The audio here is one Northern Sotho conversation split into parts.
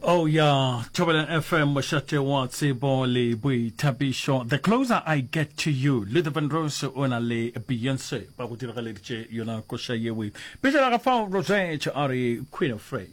Oh ya, Thobela FM, mošate wa tsebo le boithabišo. The closer I get to you, Luther Vandross o na le Beyonce ba go diragaleditše yona koša yewe. Pejana ga fao Rosette a re Queen of Rain.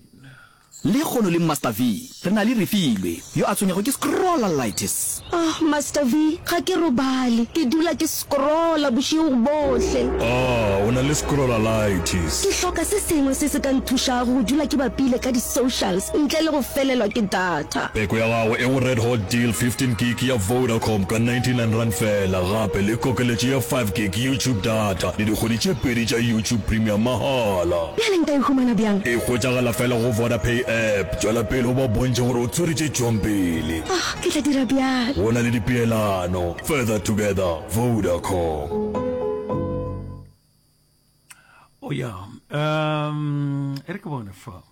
Lekgono le Master V re na le Refilwe yo a tshwenyago ke scrollalitis. Ah, Master V, ga ke robale. Ke dula ke scrolla bošego bohle. Ah, o na le scrollalitis. Ke hloka se sengwe se se ka nthušago go dula ke bapile ka di-socials ntle le go felelwa ke data. Peko ya gago e go Red Hot Deal 15 gig ya Vodacom ka R99 feela, gape le kokeletšo ya 5 gig YouTube data le dikgwedi tše pedi tša YouTube Premium mahala. Bjale nka e humana bjang? E hwetšagala fela go Vodapay app. Tšwela pele o ba bontšhe gore o tshwere tše tšwang pele. Ah, ke tla dira bjalo. Go na le dipeelano. Further together, Vodacom. Oh ya, um, e re ke bone fa.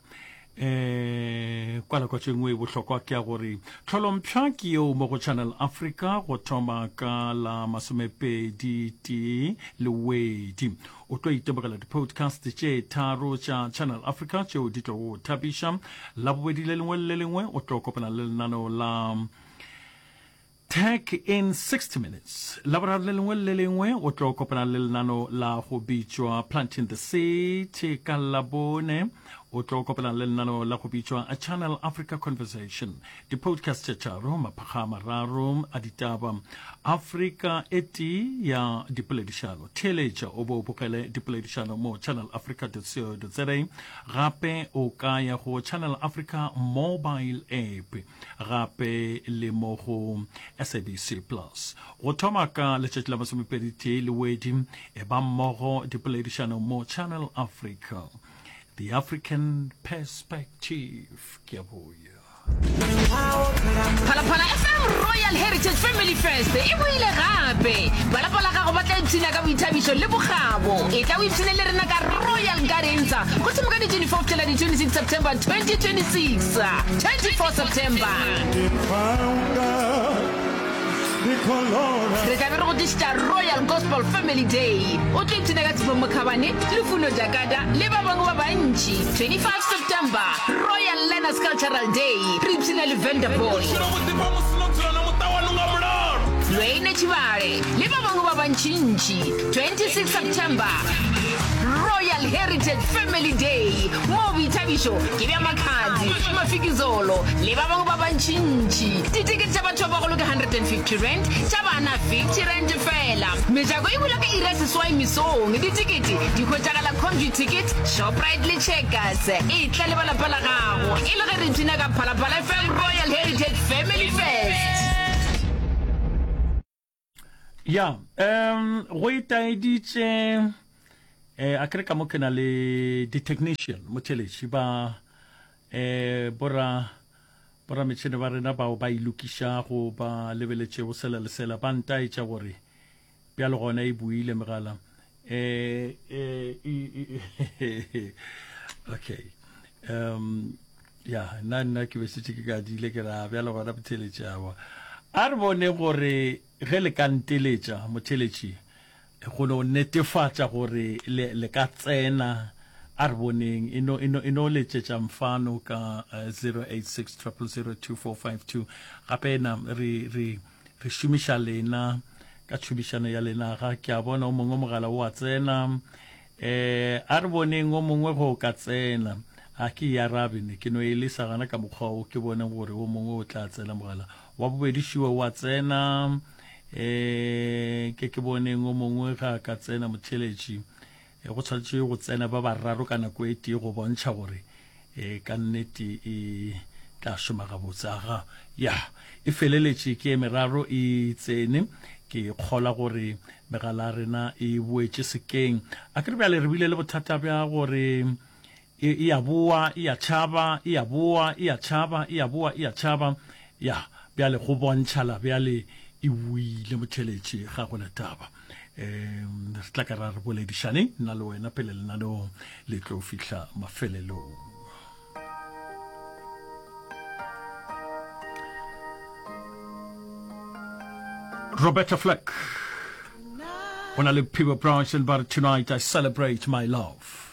Eh, kwala kwa tše nngwe e bohlokwa ke ya gore tlholompšha ke yeo mo go Channel Africa go thoma ka la masomepedi tee Lewedi. O tlo itemogela di-podcast tše tharo tša Channel Africa tšeo di tlo go thabiša. Labobedi le lengwe le le lengwe o tlo kopana le lenaneo la Tech in 60 Minutes. Laboraro le lengwe le le lengwe o tlo kopana le lenano la go bitšwa Planting the Seed. Ka Labone o tlo kopana le lenano la go bitšwa A Channel Africa Conversation. Di-podcast tše tharo, maphakga a mararo a ditaba, Afrika e tee ya dipoledišano. Theeletša o bo o bogele dipoledišano mo channelafrica.co.za. Gape o ka ya go Channel Africa mobile app. gape le mo go SABC Plus. Go thoma ka letšatši la masomepeditee Lewedi, e ba mmogo dipoledišano mo Channel Africa. The African Perspective. Ke a boya. Phalaphala FM Royal Heritage Family Fest e boile gape. Ba lapa la gago ba tla ipshina ka boithabišo le bokgabo. Etla o ipshine le rena ka Royal Gardens go thoma ka di 24 go fihlela di 26 September 2026. 24 September. Re tla be re go tlišetša Royal Gospel Family Day. O tlo ipshina ka Tshepo Mokhabane, Lufuno Jakada le ba bangwe ba bantši. 25 September, Royal Learners Cultural Day. Re ipshina le Venda Boy. Lwayne Tshibale le ba bangwe ba bantšintši. 26 September, Royal Heritage Family Day, moo boithabišo ke bja Makhadzi, Mafikizolo le ba bangwe ba bantšintši. Ditekete tša batho ba bagolo ke R150, tša bana R50 feela. Mejako e bula ka iri ya seswai mesong. Ditekete di hwetšagala Computicket, Shoprite le Checkers. Etla le ba lapa la gago e le ge re ipshina ka Phalaphala FM Royal Heritage Family Fest. Ya, um go itaeditše eh a kere ka mo ke na le di-technician motheletši ba eh bora bora metšhene ba rena bao ba e lokišago ba lebeletšego sela le sela ba ntaetša gore bjalo gona e buile megala eh eh okay um ya nna nna ke be šetše ke kadile ke ra bjalo gona motheletši awa a re bone gore ge le ka nteletša motheletši go no netefatša gore le, le ka tsena a re boneng e no, e no, e no letšetša mfano ka 086 000 2452 gape na re, re, re šomiša lena ka tšhomišano ya lena ga ke a bona o mongwe mogala o a tsena Eh, a re boneng o mongwe go ka tsena. A ke e arabe ne, ke no e lesa gana ka mokgwa o ke boneng gore o mongwe o tla tsena mogala. Wa bobedi šiwe wa tsena. Eh, ke ke boneng o mongwe ga a ka tsena motheletši. Eh, go tshwanetše go tsena ba bararo ka nako e tee go bontšha gore E, ka nnete e tla šoma gabotse. Aga, ya, e feleletše ke e meraro e tsene. Ke kgola gore megala ya rena e boetše sekeng. A ke re bjale re bile le bothata bja gore e, e a boa, e a tšhaba, e a boa, e a tšhaba, e a boa, e a tšhaba. Ya, bjale go bontšhala bjale e boile motheletše, ga go na taba. Um re tla ka ra re boledišane nna le wena pele lenaneo le tlo fihla mafelelong. Roberta Flack go na le Peabo Bryson ba re tonight I celebrate my love.